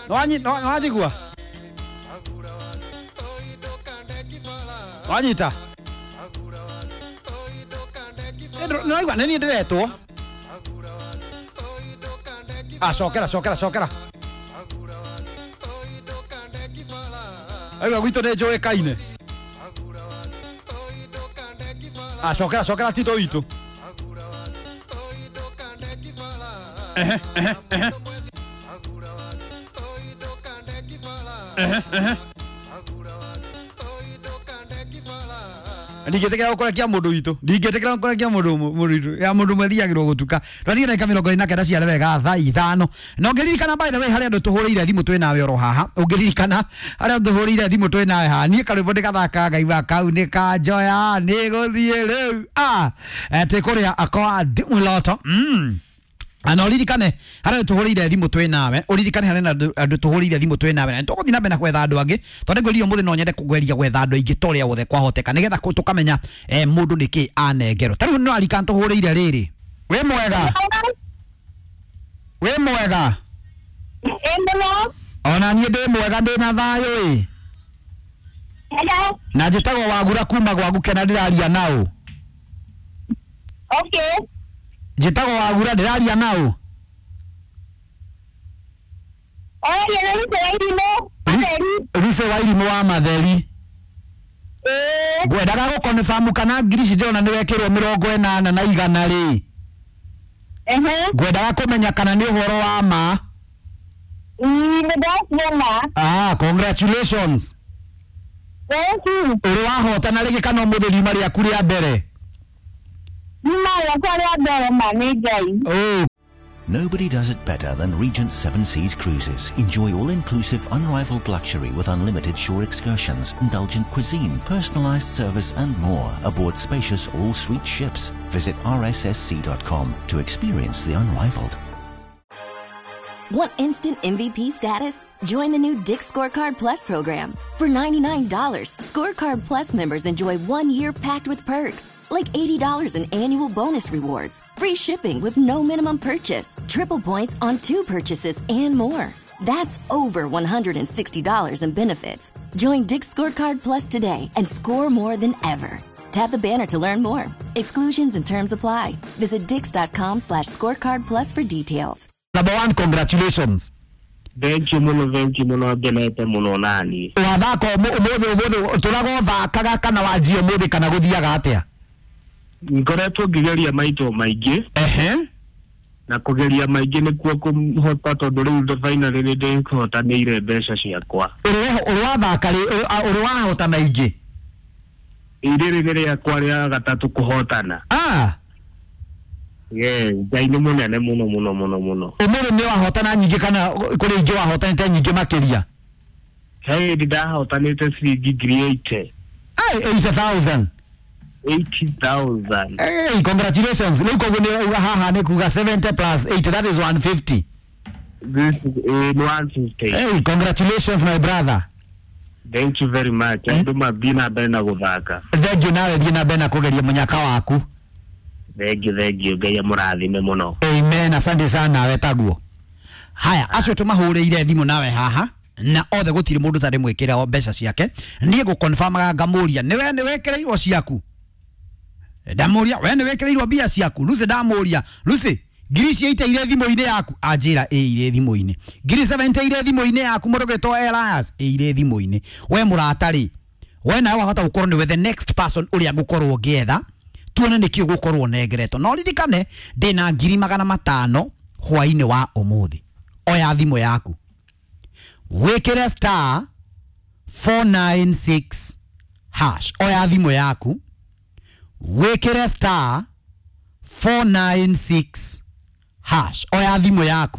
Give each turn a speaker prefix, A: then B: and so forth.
A: Nĩwanjigua? Wanyita? Nĩwaigua nĩ niĩ ndĩretwo. Ah, cokera cokera cokera. Aigua gwitũ nĩ njũĩkaine. Ah, cokera cokera Tito witũ. Ehe, ehe, ehe. Ehe, ehe. Ndingĩtĩkĩra gũkũrekia mũndũ witũ, ndingĩtĩkĩra gũkũrekia mũndũ witũ ya mũndũ ũmwe thiagĩrwo gũtuka. Twathiĩ ndagĩka 49 ciare wega thaa 5. Na ũngĩririkana, by the way, harĩa andũ tũhũrĩire thimũ twĩ nawe oro haha, ũngĩririkana harĩa andũ tũhũrĩire thimũ twĩ nawe haha, niĩ karwĩmbo ndĩgathakaga ngaigua kau nĩ kanjoya nĩ gũthiĩ rĩu. Ah, twĩ kũrĩa kwa Dimuloto. Na ũririkane harĩa tũhũrĩire thimũ twĩ nawe, ũririkane harĩa andũ tũhũrĩire thimũ twĩ nawe, na nĩtũgũthiĩ na mbere na gwetha andũ angĩ, tondũ ngwĩrire ũmũthĩ no nyende kũgeria gwetha andũ aingĩ ta ũrĩa wothe kwahoteka, nĩgetha tũkamenya mũndũ nĩkĩ anengerwo. Ta rĩu nĩ waririkana tũhũrĩire rĩrĩ. Wĩ mwega? Wĩ mwega? Ona niĩ ndĩ mwega, ndĩ na thayũ ĩ. Na njĩtagwo Wagura kuma gwa Gũkena, ndĩraria naũ?
B: Okay.
A: Njĩtagwo Wagura, ndĩraria naũ?
B: Oria na Ruth wa Irimũ. Matheri.
A: Ruth wa Irimũ wa Matheri.
B: Ĩĩ.
A: Ngwendaga gũkonfamu kana ngiri ici ndĩrona nĩ wekĩrwo 80 na 100 rĩ. Ngwendaga kũmenya kana nĩ ũhoro wa ma.
B: Nĩ ndaciona.
A: Ah, congratulations.
B: Thank you.
A: Ũrĩ wahotana rĩngĩ kana ũmũthĩ riuma rĩaku rĩa mbere?
B: Riuma rĩakwa rĩa mbere, ma nĩ Ngai.
A: Oh.
C: Nobody does it better than Regent Seven Seas Cruises. Enjoy all-inclusive, unrivaled luxury with unlimited shore excursions, indulgent cuisine, personalized service and more aboard spacious all-suite ships. Visit rssc.com to experience the unrivaled.
D: Want instant MVP status? Join the new Dick's Scorecard Plus program. For $99, Scorecard Plus members enjoy 1 year packed with perks, like $80 in annual bonus rewards, free shipping with no minimum purchase, triple points on two purchases, and more. That's over $160 in benefits. Join Dick's Scorecard Plus today and score more than ever. Tap the banner to learn more. Exclusions and terms apply. Visit dicks.com/scorecard plus for details.
A: Number one, congratulations.
E: Thank you muno, thank you muno, ngenete muno nani.
A: Wathaka ũmũthĩ, ũmũthĩ tũraga ũthakaga kana wanjia ũmũthĩ kana gũthiaga atĩa?
E: Ngoretwo ngĩgeria maito maingĩ. Na kũgeria maingĩ nĩkuo kũhota, tondũ rĩu finally nĩ ndĩhotanĩire mbeca ciakwa.
A: Ũrĩ wathaka rĩ, ũrĩ wahotana ingĩ?
E: Rĩrĩ nĩ rĩakwa rĩa gatatũ kũhotana.
A: Ah.
E: Yes, Ngai nĩ mũnene mũno mũno mũno mũno.
A: Ũmũthĩ nĩ wahotana nyingĩ kana kũrĩ ingĩ wahotanĩte nyingĩ makĩria?
E: He hĩndĩ ndahotanĩte ciringi 80,000.
A: Ai, 80,000?
E: 80,000.
A: Hey, congratulations. Rĩu koguo nĩ uga haha nĩ kuga 70 plus 80, that is 150.
E: This is 150.
A: Hey, congratulations, my brother.
E: Thank you very much. Andũ mathiĩ na mbere na gũthaka.
A: Thank you, nawe thiĩ na mbere na kũgeria mũnyaka waku.
E: Thank you, thank you. Ngai amũrathime mũno.
A: Amen, asante sana, nawe taguo. Haya, acio tũmahũrĩire thimũ nawe haha na othe gũtirĩ mũndũ tarĩ mwĩkĩre mbeca ciake. Niĩ ngũconfirmaga ngamũria nĩwe nĩ wĩkĩrĩirwo ciaku, ndamũria we nĩ wĩkĩrĩirwo mbia ciaku. Lucy, ndamũria, Lucy, ngiri icio iteire thimũ-inĩ yaku? Anjĩra ĩ irĩ thimũ-inĩ. Ngiri 70 irĩ thimũ-inĩ yaku, mũndũ gwĩtwo Elias, ĩ irĩ thimũ-inĩ. We mũrata rĩ, we nawe wahota gũkorwo nĩwe the next person ũrĩa ngũkorwo ngĩetha, tuone nĩkĩ ũgũkorwo ũnengeretwo. No ririkane ndĩna 500,000 hwainĩ wa ũmũthĩ. Oya thimũ yaku, wĩkĩre *496#. Oya thimũ yaku, wĩkĩre *496#. Oya thimũ yaku.